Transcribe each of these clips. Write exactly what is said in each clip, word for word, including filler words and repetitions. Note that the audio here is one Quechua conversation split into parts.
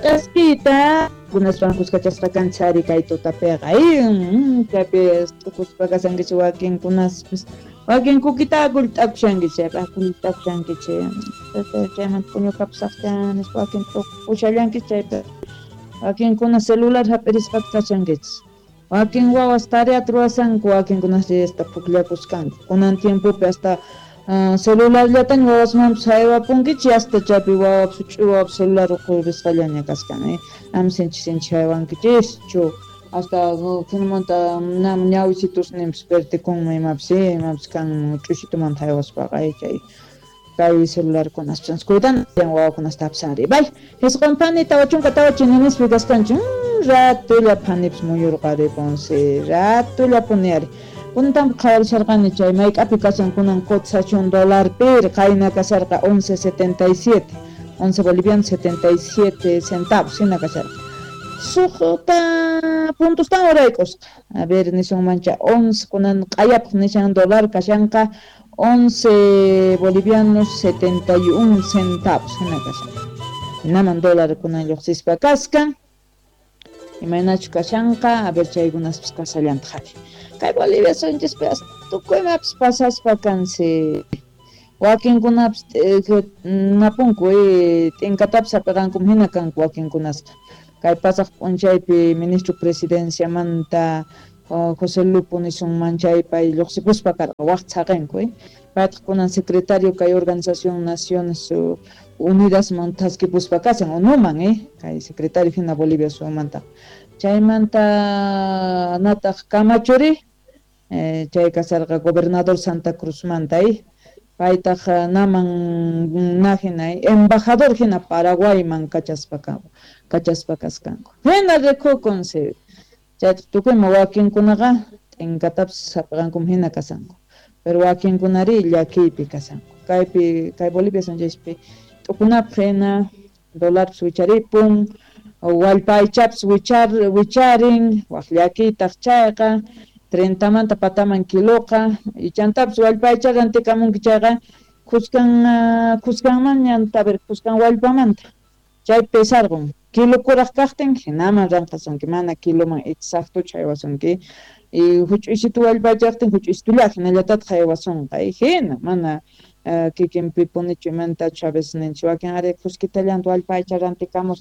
K'askita kunaswan kuskachasqa kanchari kay tutapiqa chaypi t'ukuspa kashankichik wakinkunaspis wakin kukita akullt'akushankichik akullt'akushankichik chaymanta puñukapusaqcha nispa wakin t'ukushallankichik chaypi wakinkuna celular hap'irisqata kashankichik wakin wawas tareata ruwasanku wakinkunas hasta pukllakuskanku kunan tiempopi hasta Uh, celularllataña wawasmanpas haywapunkichik hasta chaypi wawapas huch'uy wawapas celular uqhurisqallaña kaskan eh ama sinchi sinchi haywankichischu hasta hinamanta nam ñawisitusninpas pertikunman imapas imapas kan ch'usitumanta haywaspaqa chay kay celularkunas cuidan wawakunasta hapsanri bay isqun phani tawa chunka tawa chininispi kaskanchik ratulla phanipas muyurqaripunsi ratullapuni ari Kuntan qhawarisharqani chay mayk'api kashan kunan cotización dólar pir qayna kasharqa once setenta y siete once bolivianos setenta y siete centavos hina kasharqa suqta puntustan urayk'usqa a ver nisunmancha once kunan q'ayapaq nishan dólar kashanqa once bolivianos setenta y un centavos hina kashanqa hinaman dólar kunan lluqsispa kaskan imaynachu kashanqa a ver chaykunaspas kasallantaq ari kay Bolivia sunchispi tukuy imapis pasaspa kansi wakinkunapas napunku t'inkatapis hap'iqankum hina kanku wakinkunasqa kay pasaq p'unchaypi ministro presidenciamanta José Lupo nisunman chay pay lluqsipuspa karqa waq chhaqinku paytaq kunan secretario kay Organización Naciones Unidasman thaskipuspa kashan ONUman eh kay secretario hina Bolivia sumanta chaymanta nataq Camachori eh, chay kasarqa gobernador Santa Cruzmanta eh paytaq naman na hina embajador hina Paraguayman kachaspa kachaspa kaskanku hina rikukunsi chaytaq tukuyma wakinkunaqa t'inkatapis hap'iqankum hina kasanku pero wakinkunari llakiypi kasanku kaypi kay Bolivia sunchaypi t'ukunapaq hina dólarpis wicharipun wallpa aychapis wichar wicharin waq llakiytaq chayqa treintamanta pataman kiloqa ichantapis wallpa aycha rantikamunki chayqa khuskan khuskanmanñanta a ver khuskan wallpamanta chay pesarqun kilo kuraq kaqtin hinaman ranqasunki mana kiloman exactochu haywasunki y huch'uysitu wallpa aychaqtin huch'uysitulla hinallatataq haywasunqa hina mana kikinpipunichu imantachu a veces ninchik wakin ari khuskitallanta wallpa aycha rantikamus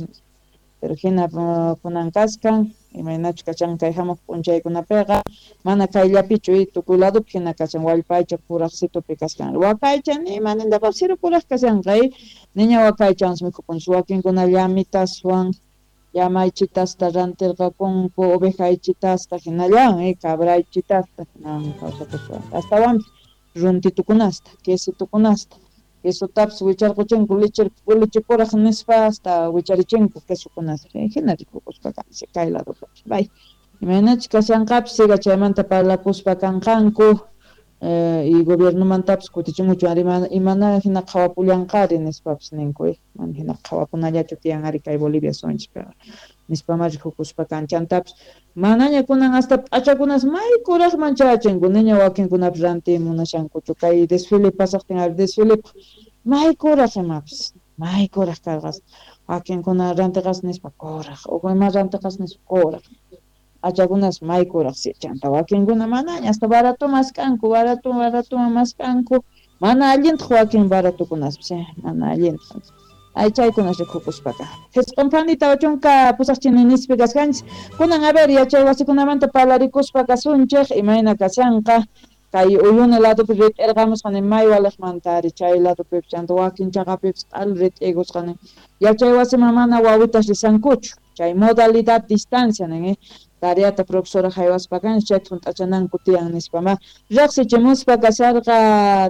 pero hina kunan kaskan imaynachu kashan kay hamuq p'unchaykunapiqa mana kayllapichu tukuy ladopi hina kashan wallpa aycha kuraqsitupi kaskan waka aycha ni imanintapas siru kuraq kashanqa niña waka aychawansi mikhupunchik wakinkuna llamitaswan llama aychitasta rantirqakunku oveja aychitasta hinallawan cabra aychitasta hinawan kawsakuspa astawanpis runtitukunasta quesitukunasta quesotapis wicharquchinku leche leche kuraq nispa hasta wicharichinko quesokunasta hina rikukuspa kansi kay ladopi bay imaynachu kashanqapis siga chaymanta parlakuspa kanqanku eh, y gobiernomantapis kutichimuchu ari imana hina qhawapullanqari nispapis ninku mana hina qhawapunallachu tiyan ari kay Bolivia sunchikpiqa nispama rikukuspa kan chantapis manaña kunan hasta p'achakunas may kuraqman chayachinku niña wakinkunapis rantiy munashankuchu kay desfile pasaqtin ari desfile may kuraq imapis may kuraq karqas wakinkuna rantiqas nispa kuraq uq ima rantiqas nispa kuraq p'achakunas may kuraq chanta wakinkuna manaña hasta barato maskanku barato barato maskanku mana allintaq wakin baratukunaspis mana allintaq ay chaykunas rikukuspaqa Jisqun phani tawa chunka pusaq chininispi kaskanchik kunan a ver yachay wasikunamanta parlarikuspa kasunchik imayna kashanqa kay Uyuni ladopi rit'irqamusqani may waliqmanta ari chay ladopipis chanta wakin chaqapipis q'al rit'iykusqani yachay wasiman mana wawitas risankuchu chay modalidad distancia nin tareata profesora haywaspa kanchik chayta hunt'achananku tiyan nispama riqsichimuspa kasharqa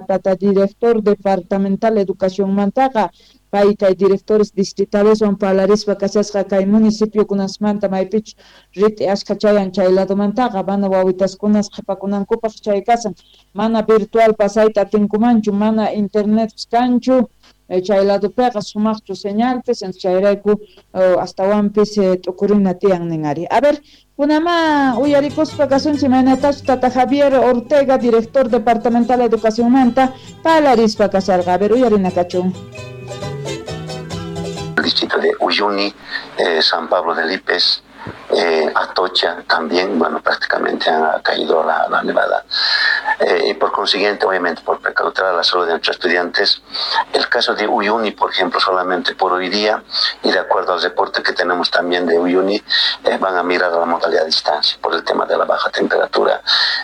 tata director departamental educacionmantaqa pay kay directores distritales parlarispa kashasqa kay municipiokunasmanta maypichu rit'i ashkha chayan chay ladomantaqa mana wawitaskunas qhipakunankupaq chay kasan mana virtual pasayta atinkumanchu mana internetpis kanchu chay ladopiqa sumaqchu señalpis chayrayku astawanpis t'ukurina tiyan nin ari a ver kunama uyarikuspa kasunchik imaynatachu tata Javier Ortega director departamental educacionmanta parlarispa kasharqa a ver uyarina kachun. distrito de Uyuni, eh, San Pablo de Lipes, eh, Atocha también, bueno, prácticamente ha caído la, la nevada. Eh, y por consiguiente, obviamente, por precautelar la salud de nuestros estudiantes, el caso de Uyuni, por ejemplo, solamente por hoy día, y de acuerdo al reporte que tenemos también de Uyuni, eh, van a mirar a la modalidad a distancia por el tema de la baja temperatura,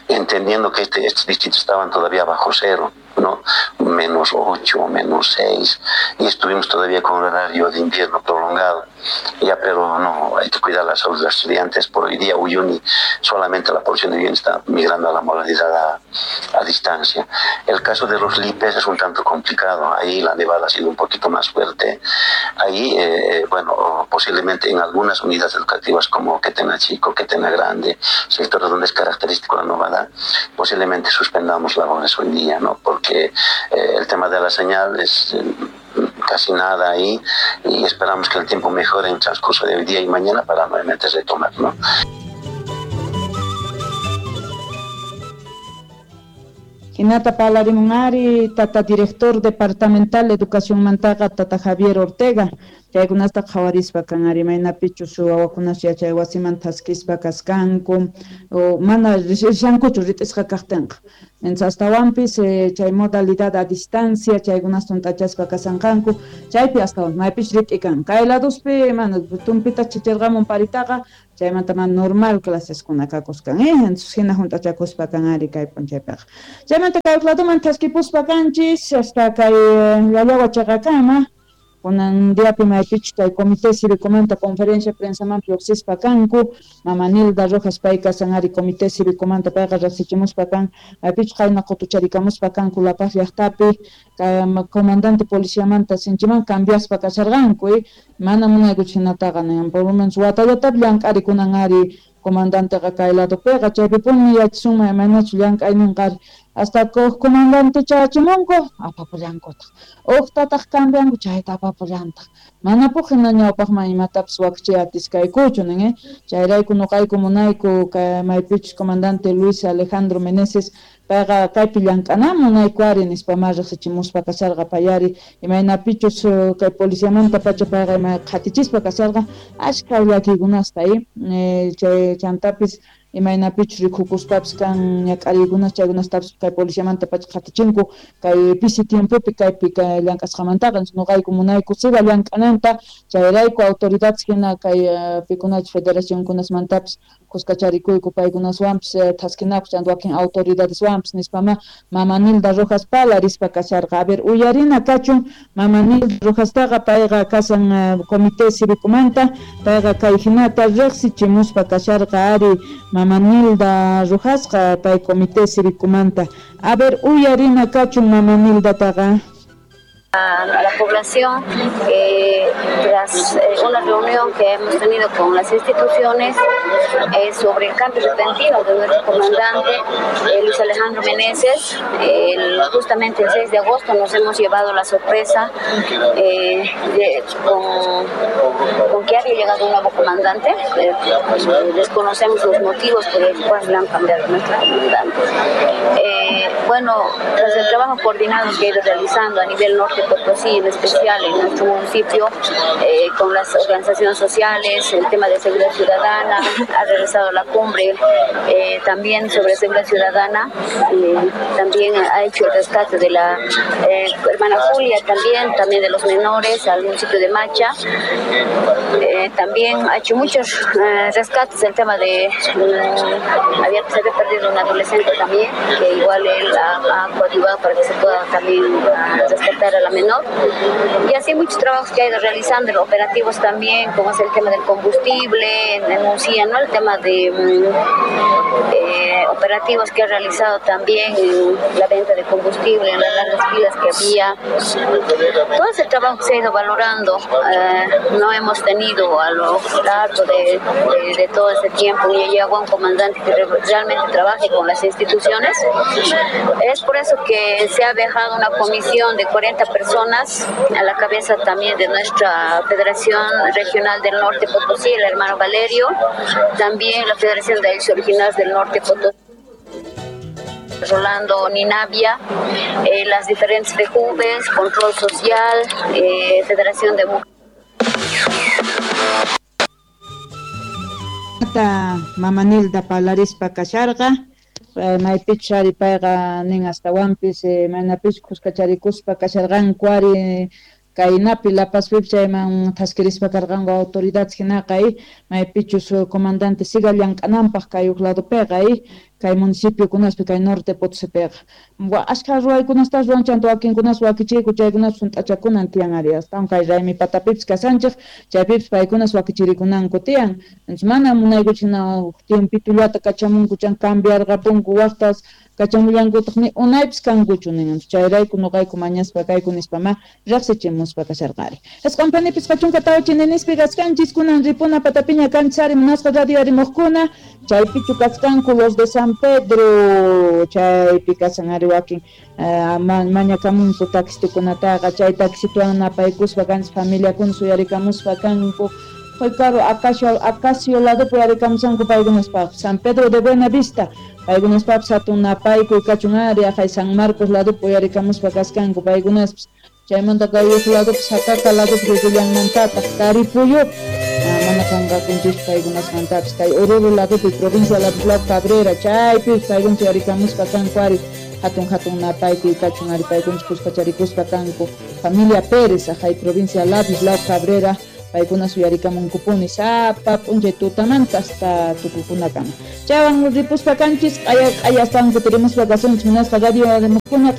entendiendo que este, estos distritos estaban todavía bajo cero, ¿no? Menos ocho, menos seis, y estuvimos todavía con un horario de invierno prolongado. Ya, pero no, hay que cuidar la salud de los estudiantes. Por hoy día Uyuni, solamente la población de Uyuni está migrando a la modalidad a, a distancia. El caso de los Lipes es un tanto complicado, ahí la nevada ha sido un poquito más fuerte. Ahí, eh, bueno, posiblemente en algunas unidades educativas como Quetena Chico, Quetena Grande, sectores donde es característico la nevada, posiblemente suspendamos labores hoy día, ¿no? Porque eh, el tema de la señal es eh, casi nada ahí, y esperamos que el tiempo mejore en el transcurso de hoy día y mañana para nuevamente retomar, ¿no? Hinata parlarimunari, tata director departamental de educación mantaqa, tata Javier Ortega, chaykunasta qhawarispa kan ari maynapichus wawakunas yachay wasiman thaskispa kaskanku o mana rishankuchu rit'isqa kaqtinqa. Entonces astawanpis eh, chay modalidad a distancia chaykunasta hunt'achaspa kasanqanku chaypi astawan maypis rit'ikan kay ladospi mana tumpita chichirqamun paritaqa chaymanta mana normal claseskuna kakuskan eh entonces hina hunt'achakuspa kan ari kay p'unchaypiqa. Chaymanta kay ladoman thaskipuspa kanchis hasta kay Llallawa chaqakama. Kunan diapi maypichu kay comité cívicomanta conferencia prensaman lluqsispa kanku mama Nilda Rojas pay kasan ari comité cívicomanta payqa riqsichimuspa kan maypichu qayna qutucharikamuspa kanku La Paz llaqtapi comandante policiamanta sinchiman cambiaspa kasharqanku eh? Mana munaykuchu hinataqa nin por lo menos watallatapi llank'arikunan ari comandanteqa kay ladopiqa chaypipuni yachasunman imaynachu llank'ayninqa ari hasta huk comandante chayachimunku apapullankutaq uqtataq cambianku chayta apapullantaq manapuq hina ñawpaqman imatapis wakichay atiskaykuchu nin eh chayrayku nuqayku munayku kay maypichus comandante Luis Alejandro Meneses payqa kaypi llank'anan munayku ari nispa ma riqsichimuspa kasharqa payari imaynapichus kay policiamanta pacha payqa ima qhatichispa kasharqa ashka llakiykunasta eh chay chantapis imaynapichus rikukuspapis kan ñak'ariykunas chaykunastapis kay policiamanta pacha qhatichinku kay pisi tiempopi kaypi kay llank'asqamantaqa nuqayku munayku siga llank'ananta chayrayku autoridades hina kay pikunachus federacionkunasmantapis kuskacharikuyku paykunaswanpis thaskinaku chanta wakin autoridadeswanpis nispama mama Nilda Rojas parlarispa kasharqa. A ver, uyarina kachun mama Nilda Rojastaqa payqa kasan comité cívicomanta payqa kay hinata riqsichimuspa kasharqa ari mama Nilda Rojasqa pay comité cívicomanta. A ver, uyarina kachun mama Nildataqa. A la población, eh, tras eh, una reunión que hemos tenido con las instituciones eh, sobre el cambio repentino de nuestro comandante eh, Luis Alejandro Meneses, eh, justamente el seis de agosto nos hemos llevado la sorpresa eh, de, con, con que había llegado un nuevo comandante. Eh, desconocemos los motivos por los cuales le han cambiado a nuestro comandante. Eh, bueno, tras el trabajo coordinado que he ido realizando a nivel norte Potosí, en especial en nuestro municipio, eh, con las organizaciones sociales, el tema de seguridad ciudadana, ha realizado la cumbre eh, también sobre seguridad ciudadana, eh, también ha hecho el rescate de la eh, hermana Julia también, también de los menores al municipio de Macha, eh, también ha hecho muchos eh, rescates, el tema de, eh, había, se había perdido un adolescente también, que igual él ha, ha coadyuvado para que se pueda también rescatar a la menor, y así muchos trabajos que ha ido realizando, operativos también, como es el tema del combustible, en, en Uncía, ¿no? El tema de eh, operativos que ha realizado también en la venta de combustible, en las largas filas que había. Todo ese trabajo que se ha ido valorando, eh, no hemos tenido a lo largo de, de, de todo ese tiempo y llegó un comandante que realmente trabaje con las instituciones. Es por eso que se ha dejado una comisión de cuarenta personas a la cabeza también de nuestra Federación Regional del Norte Potosí, el hermano Valerio, también la Federación de Ayllus Originarios del Norte Potosí, Rolando Ninavia, eh, las diferentes F E J U V E S, Control Social, eh, Federación de Mujeres. Mama Nilda parlarispa kasharqa, maypichus ari payqa nin astawanpis manapis kuskacharikuspa kasharqanku ari kaynapi La Pazpipi chayman thaskirispa karqanku autoridades hinaqa maypichus comandante siga llank'ananpaq kay huk ladopiqa kay municipiokunaspi kay Norte Potosipiqa ashka ruwaykunastas ruwan chanta wakinkunas wakichiyku chaykunas hunt'achakunan tiyan ari astawan kay raymi patapipis kasanchik chaypipis paykunas wakichirikunanku tiyan entonces mana munaykuchik hina tiempitullata kachamunku chan cambiarqapunku waqtas kachamullankutaq ni unaypis kankuchu nin chayrayku nuqayku mañaspa kayku nispa ma riqsichimuspa kasharqari isqunpanipis qachunka tawa chininispi kaskanchis kunan ripuna patapiña kanchis munasqa radio arimuqkuna chaypichu kaskanku los de San Pedro chaypi kasan ari wakin mañakamunku taxitukunataqa chay taxituwan napaykuspa kanchis familiakuna suyarikamuspa kanku Claro, Acacio, Acacio ladopi yarikamusanku paykunaspaq San Pedro de Buena Vista paykunaspapis hatun napaykuy kachun ari aqhay San Marcos ladopi uyarikamuspa kaskanku paykunaspis chaymanta kay huk ladopi Sacaca ladopi rikullanmantataq Taripuyupi mana qunqakunchis paykunasmantapis kay Oruro ladopi provincia Ladislao Cabrera chaypis paykuna uyarikamuspa kanku ari hatun hatun napaykuy kachun ari paykunas kuskacharikuspa kanku familia Pérez aqhay provincia Ladislao Cabrera paykuna suyarikamunkupuni sapa p'unchay tutamanta hasta tukukunakama chaywan ripuspa kanchis q'aya q'aya astawan kutirimuspa kasunchis munasqa radio rimukuna.